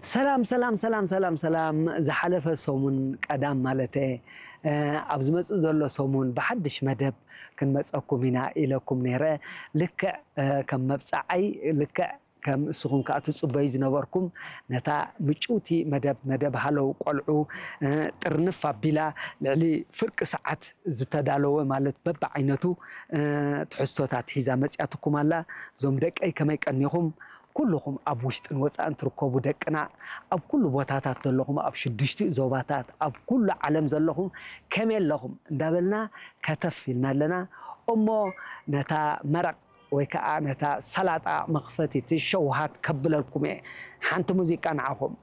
ሰላም ሰላም ሰላም ሰላም ሰላም። ዝሓለፈ ሰሙን ቀዳም ማለተ ኣብ ዝመፅእ ዘሎ ሰሙን ብሓድሽ መደብ ክንመፀኩም ኢና ኢለኩም ነይረ። ልክዕ ከም መብፃዓይ ልክዕ ከም እስኹም ከዓ ትፅበዩ ዝነበርኩም ነታ ምጭውቲ መደብ መደብ ሃለው ቆልዑ ጥርንፍ ኣቢላ ልዕሊ ፍርቂ ሰዓት ዝተዳለወ ማለት በብዓይነቱ ትሕዝቶታት ሒዛ መፅያትኩም ኣላ። እዞም ደቀይ ከመይ ቀኒኹም? ኩልኹም ኣብ ውሽጥን ወፃእን ትርከቡ ደቅና ኣብ ኩሉ ቦታታት ዘለኹም ኣብ ሽዱሽቲኡ ዞባታት ኣብ ኩሉ ዓለም ዘለኹም ከመይ ኣለኹም እንዳበልና ከተፍ ኢልና ኣለና። እሞ ነታ መረቕ ወይ ከዓ ነታ ሰላጣ መኽፈቲት ሸውሃት ከብለልኩም እየ። ሓንቲ ሙዚቃ ንዓኹም።